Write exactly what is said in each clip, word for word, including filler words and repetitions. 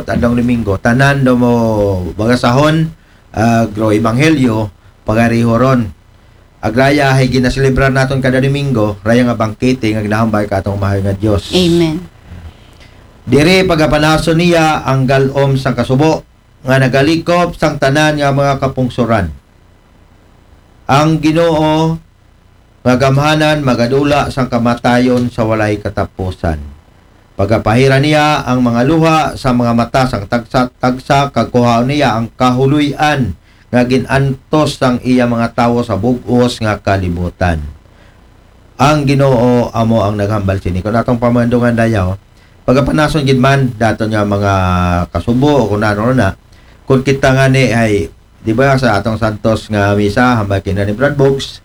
Adlawng Domingo, tanan daw mo bagasahon, ah, agro ebanghelyo, pagariho ron. Agraya hay ginaselebrar naton kada Domingo, raya nga bangkete nga ginahambal ka atong Mahal nga Dios. Amen. Diri pagapanason niya ang galom sang kasubo, nga nagalikop sang tanan nga mga kapungsoran. Ang Ginoo nga gamhanan magadula sang kamatayon sa walay katapusan. Pagapahira niya ang mga luha sa mga mata sang tagsa-tagsa, kag kuhaon niya ang kahuloy-an nga gin-antos sang iya mga tawo sa bug-os nga kalibutan. Ang Ginoo amo ang naghambal sini. Kung atong pamandungan dayaw, pagapanason gid man daton nga mga kasubo o kung ano na, kung kita nga ni ay, di ba, sa atong Santos nga Misa, hambal kina ni Brad Boggs,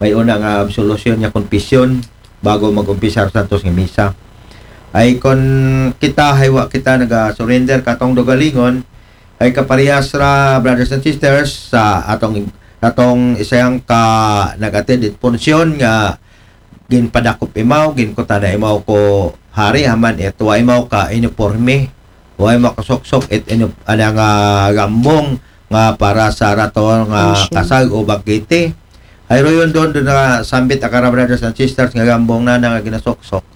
may una nga absolusyon nga konfesyon bago mag-umpisar Santos nga Misa. Ay kung kita, hay wa kita naga-surrender katong dogalingon, ay kaparehas ra, brothers and sisters, sa atong, atong isang ka nag-attend it punsyon nga ginpadakop imaw, ginkutana imaw ko hari, haman it wa imaw ka uniporme, wa imaw ka suksok, it inu-, ana nga gambong nga para sa rato nga Punsyon. Kasag o bangkete. Ay royon doon, doon na sambit akara, brothers and sisters, nga gambong na nga ginasuksok.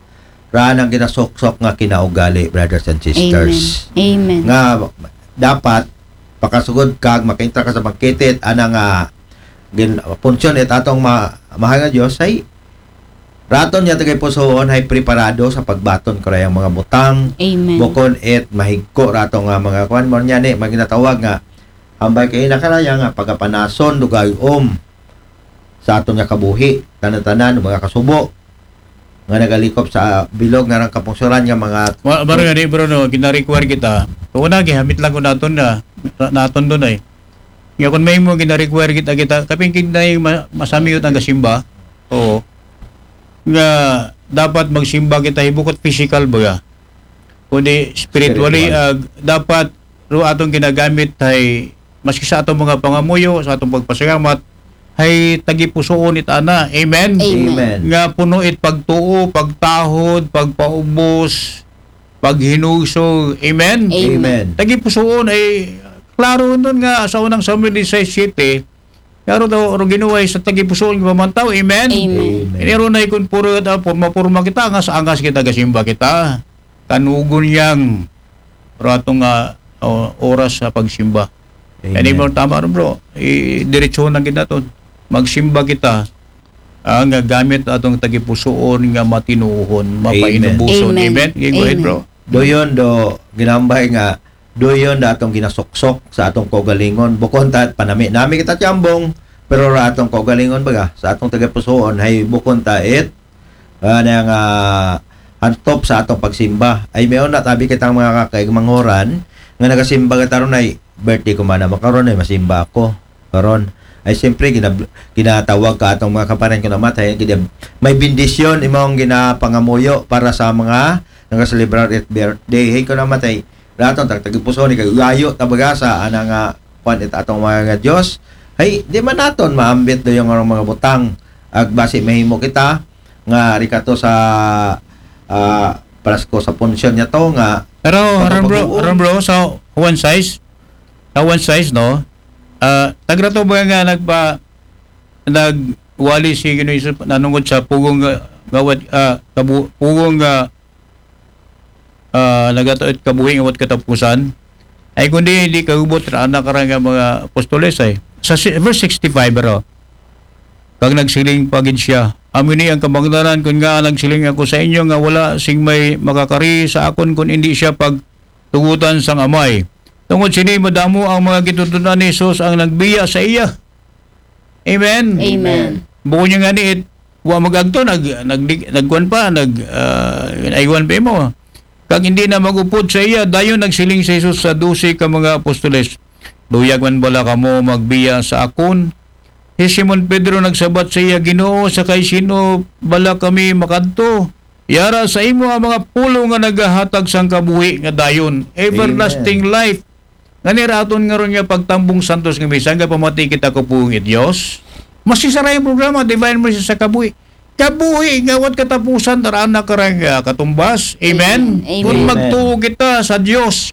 Ra nang ginasuksok nga kinaugali, brothers and sisters. Amen. Nga dapat pakasugod kag makaintra ka sa bangkete, ana nga gin punsyon it atong ma-, mahal nga Dios ay raton niya tagay pusoon hay preparado sa pagbaton karayang mga butang. Amen. Bukon it mahigko rato nga mga kuan mo niya ni, mga ginatawag nga hambal kay na karaya nga pagapanason, dugay-om sa aton nga kabuhi, tanan-tanan, mga kasubo nga nagalikop sa bilog nga rang kapungsoran nga mga Ma, maro nga di, bro, no, gina-require kita. Una, gihamit lang ko naton na, na- naton doon ay. Nga kung may mo gina-require kita, kita, kapin kinday ma, masamiyot ang kasimba, oo. Nga dapat magsimba kita, hibukot physical ba? Kundi spiritually, Spiritual. ah, dapat ro atong ginagamit ay maski sa atong mga pangamuyo, sa atong pagpasalamat, ay tagipusoon it ana. Amen? Amen. Amen. Nga puno it pagtuo, pagtahod, pagpaubos, paghinusog. Amen? Amen. Amen. Tagipusoon ay, klaro nun nga sa unang Samuel disisais siyete, klaro daw, ro ginuway sa tagipusoon nga pamantaw. Amen? Amen. Amen. Iniro na ikon puro, ah, purma-purma kita, angas-angas kita, gasimba kita. Kanugon yang rato nga, oh, oras sa pagsimba. Amen. Ano mo tama ron, bro? I, diretso na kita to. Magsimba kita, ah, nga gamit atong tagipusoon nga matinuhon, mapainubuson. Amen. Amen? Okay, go ahead, Amen. Bro. Doon do ginambay nga doon da atong ginasuksok sa atong kaugalingon. Bukon ta panami-nami kita tiyambong, pero ra atong kaugalingon baga sa atong tagipusoon hay bukon ta it, ah, na nga hantop sa atong pagsimba. Ay may una tabi kitang mga kakaigmanghoran nga nagasimba ka taron ay birthday ko man naman karon ay masimba ako. Karon ay siyempre gina-, ginatawag ka atong mga kaparehan ko namatay, gina-, may bendisyon imong ginapangamuyo para sa mga nagaselebrar it birthday. Hey ko namatay, raton tag tagipuso ni kagayo tabaga sa ana nga kwan it atong mga nga Dios. Hay di man naton maambit do yung mga butang ag basi mahimo kita nga rikato sa, ah, Pasko sa punsyon niya to nga Pero, Sa Ron Bro, pagbuo. Ron Bro, sa one size, sa one size, no? Ah, tagra to ba nga nagpa, nagwali si Ginoong Hesus nanungod sa pugong nga, nga wat, ah, kabu, pugong nga, ah, nagatuot kabuhi nga wat katapusan? Ay kundi hindi kagubot ra anak ra nga mga apostoles ay. Sa si, verse sixty-five, bro. Kag nagsiling pa gid siya, "Amo ni ang kabangdanan, kun nga nagsiling ako sa inyo nga wala sing may makakari sa akon kun indi siya pagtugutan sang Amay." Tungod sini madamo ang mga gitutun-an ni Jesus ang nagbiya sa iya. Amen. Amen. Bukod niya nga ni it, wa magagto, nag, nag, nagkuan pa, nag, ah, aywan pa mo. Kag hindi na magupod sa iya, dayon nagsiling si Jesus sa dose ka mga apostoles, "Luyag man bala kamo magbiya sa akon?" Si Simon Pedro nagsabat sa iya, "Ginoo, sa kay sino bala kami makadto? Yara sa imo ang mga pulong nga nagahatag sang kabuhi nga dayon, everlasting life." Ngani ra aton nga ron nga pagtambong santos nga misa, nga pamati kita ko pugong it Dios. Mas isa ra yung programa, Divine Mercy sa Kabuhi. Kabuhi nga wat katapusan, tara na karang, ah, katumbas. Amen? Amen. Kung Amen. magtuo kita sa Dios,